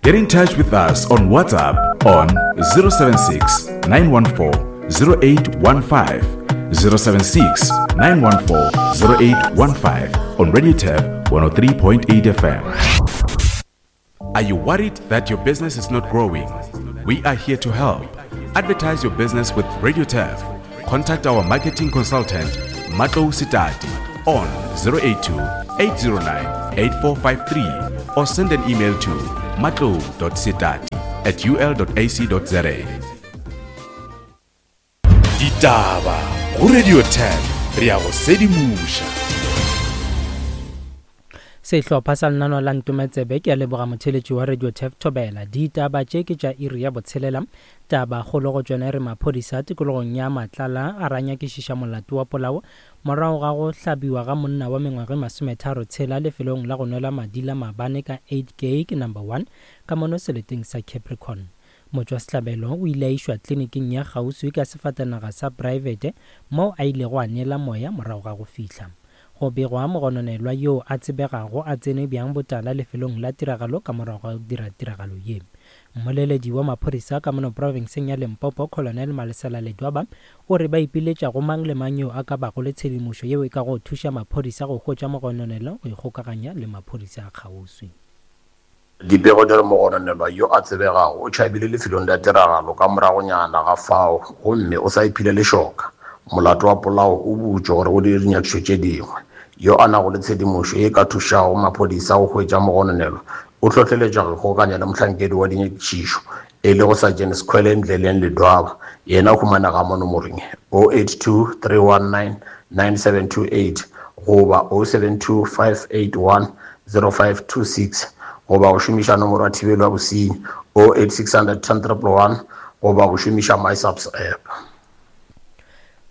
Get in touch with us on WhatsApp on 076 914 0815. 076 914 0815 on Radio Tab 103.8 FM. Are you worried that your business is not growing? We are here to help. Advertise your business with Radio Turf. Contact our marketing consultant, Matlo Sitati, on 082 809 8453 or send an email to matlo.sitati at ul.ac.za. Ditaba go Radio 10 re ya go sedimoša. Sehlopha sa lenaneo la Ntometsebe ke a leboga motheeletši wa Radio Turf Thobela. Ditaba tše ke tša iri ya botshelela. Taba kgolo go tšona e re maphodisa tikologong ya Matlala a ra nyakišiša molato wa polao morago ga go hlabiwa ga monna wa mengwaga e masometharo tshela lefelong la go nwela madi la maabane ka 8 Gate Number 1 ka mono seleteng sa Capricorn. Motšwasehlabelo o ile a išwa kliniking ya kgauswi ka sefatanaga sa praebete moo a ilego a neela moya morago ga go fihla. Go begwa mogononelwa yoo a tsebegago a tsene bjang botala lefelong la tiragalo ka morago ga go dira tiragalo ye. Mmoleledi wa maphodisa ka mono profenseng ya Limpopo, Colonel Malesela Ledwaba, o re ba ipiletša go mang le mang yo a ka bago le tshedimošo yeo e kago thuša maphodisa go hwetša mogononelwa go ikgokaganya le maphodisa a kgauswi. Dipego di re mogononelwa yo a tsebegago o tšhabile lefelong la tiragalo ka moragonyana ga fao gomme o sa iphile lešoka. Molato wa polao o butšwe gore go dirwe dinyakišišo tše dingwe. Yo a nago le tshedimošo ye e ka thušago maphodisa go hwetša mogononelwa o hlohleletšwa go ikgokanya le mohlankedi wa dinyakišišo e lego Sergeant Skhwele Ndleleng Ledwaba. Yena o humanega mo nomorong ye, 082 319 9728 goba 072 581 0526 goba go šomiša nomoro ya thibelo ya bosenyi 08600 10 111 goba go šomiša MySAPS app.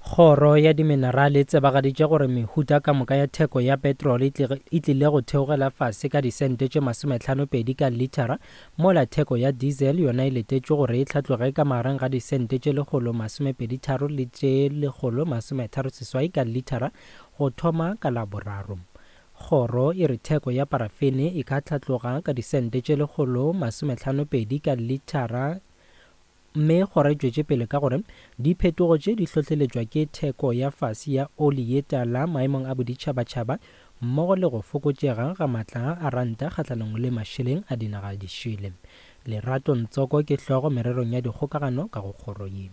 Kgoro ya Diminerale e tsebagaditše gore mehuta ka moka ya theko ya petrole e tlile go theogela fase ka disente tše masometlhanopedi ka lithara, mola theko ya diesel yona e letetšwe gore e hlatloge ka magareng ga disente tše lekgolo-masomepeditharo le tše lekgolo-masometharoseswai ka lithara go thoma ka Laboraro. Kgoro e re theko ya parafene e ka hlatloga ka disente tše 150 ka lithara mme kgoro e tšwetše pele ka gore diphetogo tše di hlohleletšwa ke theko ya fase ya oli ye tala maemong a boditšhabatšhaba mmogo le go fokotšega ga matla a ranta kgahlanong le mašeleng a dinaga dišele. Lerato Ntsoko ke hlogo mererong ya dikgokagano ka go kgoro ye.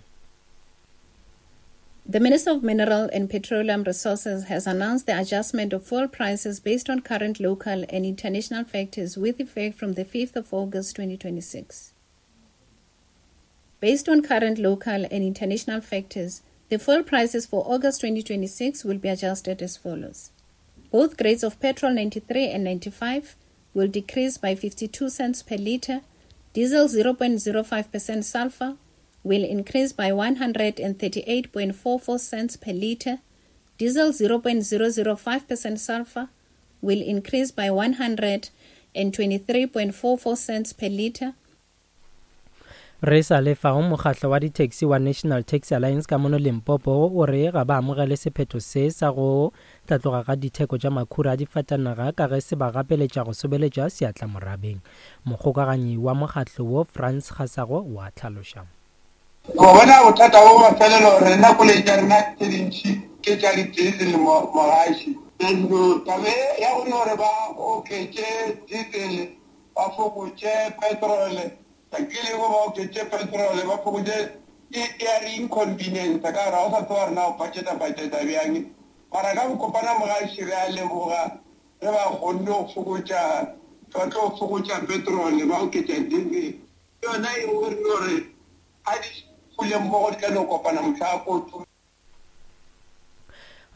The Minister of Mineral and Petroleum Resources has announced the adjustment of fuel prices based on current local and international factors with effect from the 5th of August 2026. Based on current local and international factors, the fuel prices for August 2026 will be adjusted as follows. Both grades of petrol 93 and 95 will decrease by 52 cents per liter, diesel 0.05% sulfur will increase by 138.44 cents per liter, diesel 0.005% sulfur will increase by 123.44 cents per liter. Re sa le fao, mokgatlo wa di-taxi wa National Taxi Alliance ka mono Limpopo o re ga ba amogele sephetho se sa go hlatloga ga ditheko tša makhura a difatanaga ka ge se ba gapeletša go sobeletša seatla morabeng. Mokgokaganyi wa mokgatlo wo Frans Kgasago o a hlaloša. Wa bona bothata bo mafelelo rena koloi tša rena tše dintši ke tša di-diesel mogaši. Taba ye ya go no re ba oketše diesel ba fokotše petrol ke lego ba oketše petrol ba fokotše e ya re inconvenience ka gore ga o sa tseba rena go budgeta budgeta bjang mara ka bokopana mogaši re a leboga Ge ba kgonne go fokotša, ba tlo fokotša petrole, ba oketša diesel. Ke yona e nngwe re no re ga di fule mmogo di tla no kopana mohla kotulo.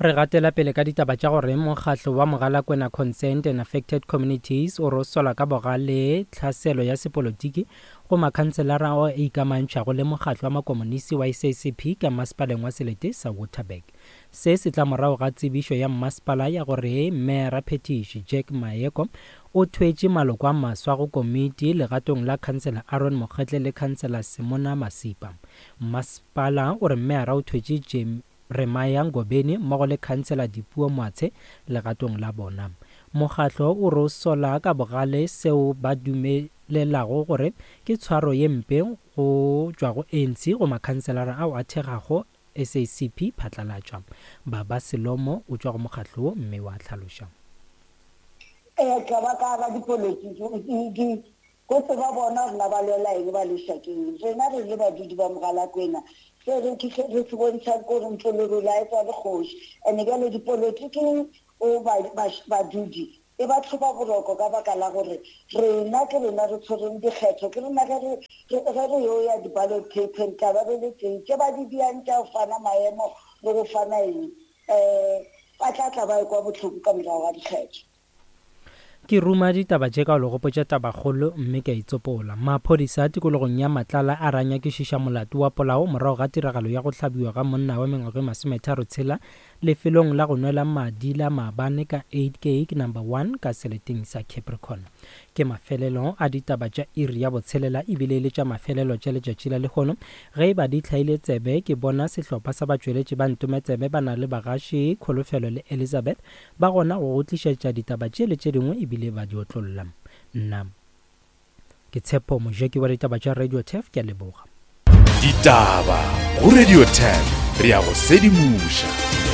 Re gatela pele ka ditaba tša gore mokgatlo wa Mogalakwena Concerned and Affected Communities o re o sola ka bogale tlhaselo ya sepolotiki go makhanselara ao a ikamantšhago le mokgatlo wa makomonisi wa SACP ka masepaleng wa selete sa Waterberg. Se se tla morago ga tsebišo ya mmasepala ya gore Meyara-phethiši Jack Maeko o thwetše maloko a maswa go komiti legatong la Khansela Aaron Mokgetle le Khansela Semona Masipa. Mmasepala o re meyara o thwetše Jeremiah Ngobeni mmogo le Khansela Dipuo Moatshe legatong la bona. Mokgatlo o re o sola ka bogale seo ba dume. bolelago gore ke tshwaro ye mpe go tšwa go ANC go makhanselara ao a thekgago SACP phatlalatša. Baba Selomo o tšwa go mokgatlo wo mme wa hlaloša. Ee, ka ba ka ba dipolotiki di go tseba bona gore na ba lwela eng ba lweša ke eng. Rena re le badudi ba Mogalakwena se re re se bontšhang ke gore ntlo lerole a e tswale kgoši. And bjale dipolotiking o ba badudi e ba tlhoba boroko ka baka la gore rena ke rena re tshwereng dikgetho, ke rena ge re ge re yo ya di-ballot paper-eng tla ba re le teng. Tše ba di diang tša go fana maemo le go fana eng um ba tla tla ba ekwa bohloko ka morago ga dikgetho. Ke ruma ditaba tše ka go le gopotša tabakgolo mme ke a itsopola. Maphodisa tikologong ya Matlala a re a nyakišiša molato wa polao morago ga tiragalo ya go hlabiwa ga monna wa mengwaga e masometharo tshela lefelong la go nwela madi la maabane ka Uitkyk Number One ka seleteng sa Capricorn. Ke mafelelo a ditaba tša iri ya botshelela ebile e le tša mafelelo tša letšatši la lehono. Ge e ba di hlaile tsebe ke bona sehlopha sa batšweletši ba Ntometsebe ba na le bagaši Kholofelo le Elizabeth ba gona go go tlišetša ditaba tše le tše dingwe ebile ba di otlolla. Nna Ke Tshepo Mojeki wa ditaba tša Radio Turf, ke a leboga. Ditaba go Radio Turf, re a go sedimoša.